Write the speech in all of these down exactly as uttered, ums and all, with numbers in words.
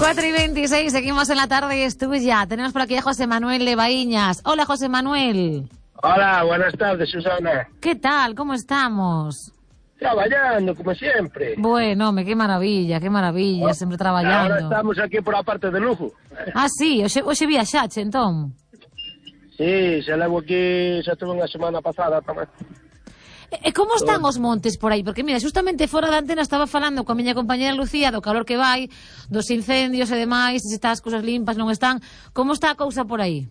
cuatro y veintiséis, seguimos en la tarde, es tuya. Tenemos por aquí a José Manuel de Baíñas. Hola, José Manuel. Hola, buenas tardes, Susana. ¿Qué tal? ¿Cómo estamos? Traballando, como siempre. Bueno, home, qué maravilla, qué maravilla, oh, sempre traballando. Ahora estamos aquí por a parte de Lugo. Ah, sí, hoxe, hoxe viaxache, entón. Sí, se levo aquí, xa tuve unha semana pasada tamén. E como están os montes por aí? Porque, mira, justamente fora da antena estaba falando coa miña compañera Lucía do calor que vai, dos incendios e demais, se está as cousas limpas, non están. Como está a cousa por aí?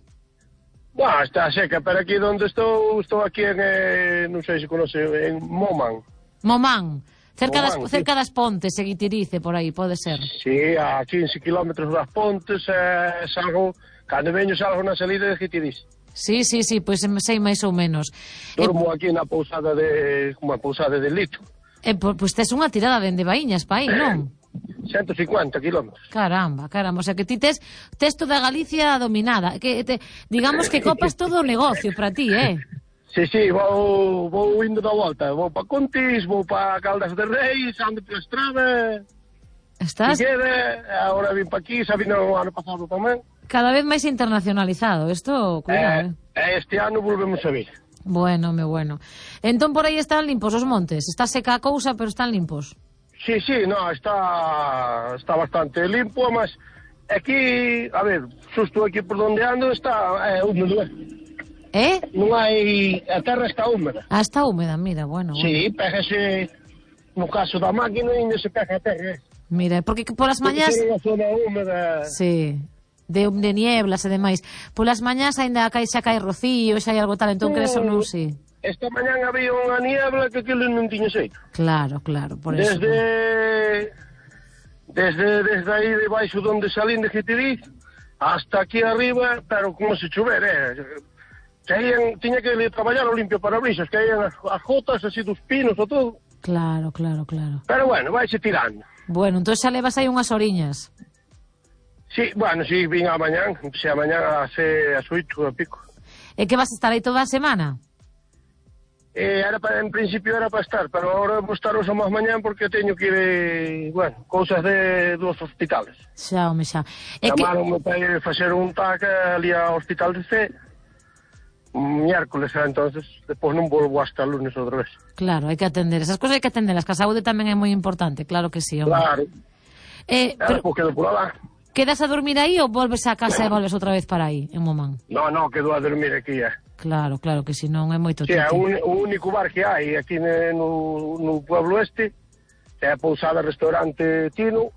Buah, está seca, pero aquí onde estou, estou aquí en, eh, non sei se conoce, en Momán. Momán, cerca, Momán, das, cerca sí. das Pontes, en Guitirice, por aí, pode ser. Sí, a quince kilómetros das Pontes, eh, salgo, cando veño salgo na salida de Guitirice. Sí, sí, sí, pois pues, sei máis ou menos. Dormo eh, aquí na pousada de, como a pousada de Lito. Eh, pois pues, tes unha tirada dende Baíñas pa aí, non? ciento cincuenta kilómetros. Caramba, caramba, o sea que ti tes, tes toda Galicia dominada, que te, digamos que copas todo o negocio para ti, eh? Sí, sí, vou, vou indo da volta, vou pa Contis, vou pa Caldas de Reis, ando pola estrada. Estás? Figueira, agora vim pa aquí, xa vino o ano pasado tamén. Cada vez máis internacionalizado, isto, cuidado, eh? eh. Este ano volvemos a vir. Bueno, me bueno. Entón por aí están limpos os montes, está seca a cousa, pero están limpos. Sí, sí, no, está está bastante limpo, mas aquí, a ver, xusto aquí por donde ando está é, húmedo, eh? Eh? Non hai, a terra está húmeda. Ah, está húmeda, mira, bueno. Sí, bueno. pégase, no caso da máquina, ainda se pega a terra. Mira, porque polas mañás... Porque unha zona húmeda... Sí, de, de nieblas e demais. Polas mañás ainda cai, xa cae rocío, xa hai algo tal, entón crees ou non, sí. Esta mañán había unha niebla que aquilo non tiña xeito. Claro, claro, por desde, eso. Desde, desde aí debaixo donde salín de Guitiriz hasta aquí arriba, pero como se chover, eh? Caían, tiña que traballar o limpio parabrisas, caían as, as gotas así dos pinos e todo. Claro, claro, claro. Pero bueno, vaise tirando. Bueno, entón xa levas aí unhas oriñas. Sí, bueno, sí, vin a mañán, se a mañán a se as oito e pico. E que vas a estar aí toda a semana? Eh, era para, en principio era para estar, pero ahora vou estar hoxe máis mañán porque teño que ir, eh, bueno, cousas de dos hospitales. Xa, home, xa. E Chamaronme que... para ir facer un tac ali ao hospital de C, miércoles, entonces, depois non volvo hasta el lunes outra vez. Claro, hai que atender, esas cousas hai que atenderlas, que a saúde tamén é moi importante, claro que sí, home. Claro. Eh, pero... Pues quedo por alá. Quedas a dormir aí ou volves a casa e volves outra vez para aí, en Momán? No, no, quedo a dormir aquí, eh. Claro, claro, que si non é moito Sí, titi. é un, o único bar que hai aquí no, no pueblo este, é a pousada restaurante Tino,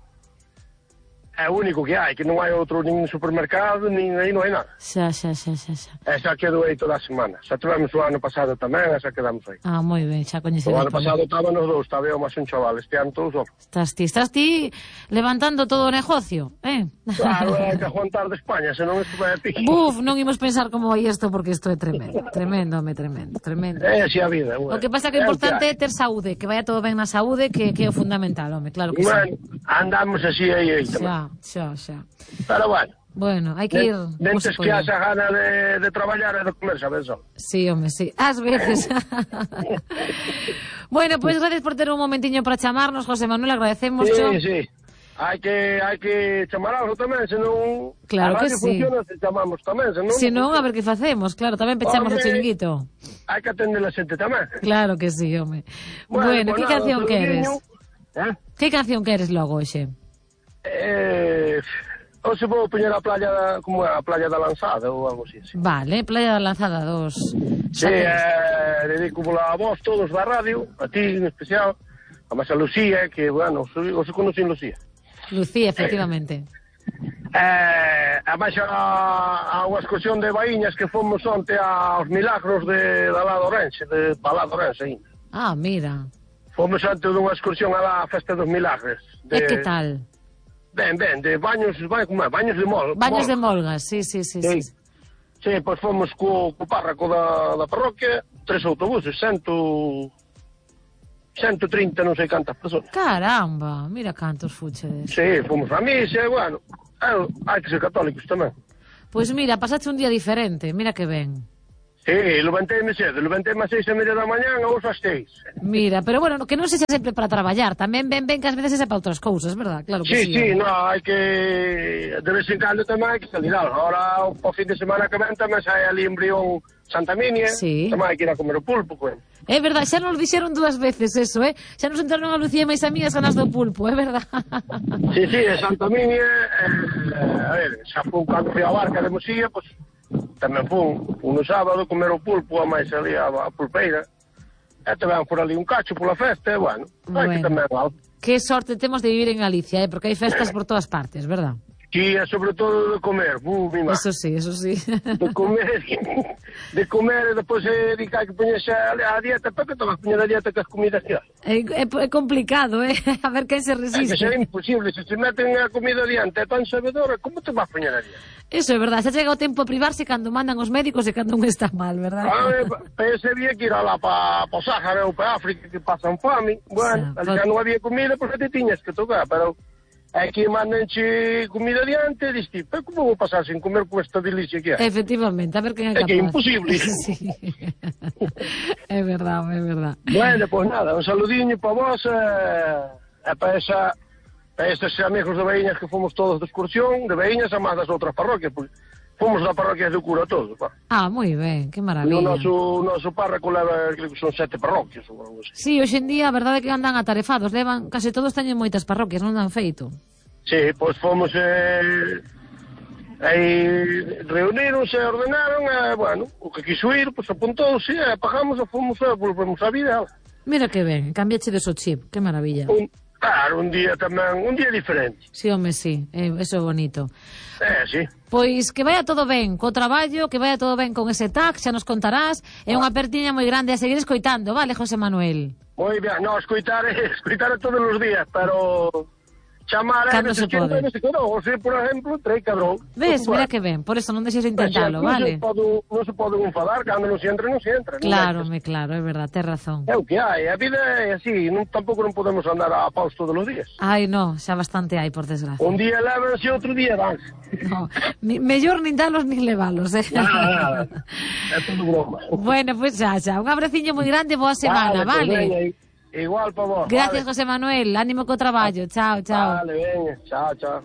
é o único que hai, que non hai outro nin supermercado, nin aí non hai nada. Xa, xa, xa, xa, xa. E xa quedo aí toda a semana. Xa tivemos o ano pasado tamén, e xa quedamos aí. Ah, moi ben, xa coñecedes. O ano pasado estaban os dous, estaba eu máis un chaval, este ano todos os. Estás ti, estás ti levantando todo o negocio, eh? Claro, hai que aguantar de España, senón isto vai a pique. Buf, non imos pensar como vai isto, porque isto é tremendo, tremendo, home, tremendo, tremendo. É así a vida, bueno. O que pasa que o importante é ter saúde, que vaya todo ben na saúde, que, que é o fundamental, home, claro que bueno, sí. Andamos así aí, aí xa, xa, xa. Pero bueno. Bueno, hai que ir... Dentes que haxa gana de, de traballar e de comer, sabes só. Sí, home, sí. Ás veces. Bueno, pois pues, gracias por ter un momentiño para chamarnos, José Manuel, agradecemos. Sí, sí. Hai que hai que chamar algo tamén, senón... Claro que sí. funciona se chamamos tamén, senón... Se non, a ver que facemos, claro, tamén pechamos o chiringuito. Hai que atender a xente tamén. Claro que sí, home. Bueno, bueno pues que nada, canción queres? ¿Eh? Que canción queres logo, hoxe? Eh... Ou se vou poñer a playa, como a playa da Lanzada ou algo así. Sí. Vale, playa da Lanzada dos. Sí, eh, dedico a vos todos da radio, a ti en especial, a máis a Lucía, que, bueno, o se conocen Lucía. Lucía, efectivamente. Eh, a máis a, a unha excursión de Baíñas que fomos onte aos Milagros de, da Lado Orense, de Palado Orense ainda. Ah, mira. Fomos onte dunha excursión a la Festa dos Milagres. De... E que tal? Ben, ben, de baños, como é? Baños de mol. Baños mol. de molgas, sí, sí, sí. Sí, sí. Sí, pois fomos co, co párraco da, da parroquia, tres autobuses, cento... cento trinta, non sei cantas persoas. Caramba, mira cantos fuchedes. Sí, fomos a misa, bueno, hai que ser católicos tamén. Pois mira, pasaste un día diferente, mira que ben. Sí, levantéme cedo, levantéme ás seis e media da mañá, a vos ás seis. Mira, pero bueno, que non sexa sempre para traballar, tamén ben ben que ás veces é para outras cousas, verdad? Claro que Sí, sí. sí, eh. no, hai que, de vez en cando tamén hai que salir algo. Ahora, o fin de semana que ven tamén sai ali en Brión Santa Minia, Sí. tamén hai que ir a comer o pulpo, coen. É verdad, xa nos dixeron dúas veces eso, eh? Xa nos entraron a Lucía e máis a mí as ganas do pulpo, é verdad? Sí, sí, de Santa Minia, eh, a ver, xa fun cando fui a barca de Mosía, pois, tamén fun, fun no sábado comer o pulpo, a máis ali a, a pulpeira, e tamén por ali un cacho pola festa, e bueno, hai que Bueno. tamén algo. Que sorte temos de vivir en Galicia, eh? Porque hai festas por todas partes, verdad? Que é sobre todo de comer, bu, mi má. Eso sí, eso sí. De comer, de comer, e depois eh, di que hai que poñerse a, a dieta, para que te vas poñer a dieta que as comidas que hai? É, é, é complicado, eh? A ver quen se É que resiste. será imposible, se se meten a comida diante, é tan sabedora, como te vas poñer a dieta? Eso é verdad, xa chega o tempo a privarse cando mandan os médicos e cando un está mal, verdad? Ah, ese día que ir alá para pa o Sáhara ou para África que pasan fame, bueno, Sa- ali xa non había comida, pois te tiñas que tocar, pero aquí mandanche comida diante, e diste, pero como vou pasar sin comer con esta delicia que hai? Efectivamente, a ver quen é É capaz. que é imposible. Sí. É verdad, é verdad. Bueno, pois nada, un saludiño para vos e, e para esa para estes amigos de Baíñas que fomos todos de excursión, de Baíñas a máis das outras parroquias, pois fomos da parroquia do cura todos, pa. Ah, moi ben, que E o maravilla. noso, noso párroco leva, creo que son sete parroquias ou algo así. Sí, hoxe en día a verdade é que andan atarefados, levan, case todos teñen moitas parroquias, non dan feito. Sí, pois fomos eh, aí reunironse e ordenaron e, bueno, o que quiso ir, pois apuntouse e pagamos e fomos e volvemos a vida. Mira que ben, cambiache de so chip, que maravilla. Un, claro, un día tamén, un día diferente. Sí, home, sí, eh, eso é bonito. Eh, sí. Pois que vaya todo ben co traballo, que vaya todo ben con ese tag, xa nos contarás. É unha apertiña moi grande a seguir escoitando, vale, José Manuel? Moi ben, no, escoitar, escoitar todos os días, pero chamar Cando a se veces pode. que se quedou, o sea, por exemplo, trei cadrou. Ves, mira que ben, por eso non deixes de intentalo, non vale? Se pode, non se pode enfadar, cando non se entra, non se entra. non Claro, é que- me claro, é verdad, tes razón. É o que hai, a vida é así, non, tampouco non podemos andar a paus todos os días. Ai, no, xa bastante hai, por desgracia. Un día levanse, outro día danse. No, ni, mellor nin dalos nin levalos, eh? Nada, nada, é todo broma. Bueno, pois pues xa, xa, un abraciño moi grande, boa semana, pues vale? veña, igual para vos. Gracias, vale. José Manuel, ánimo co traballo, chao, chao. Vale, veña, chao, chao.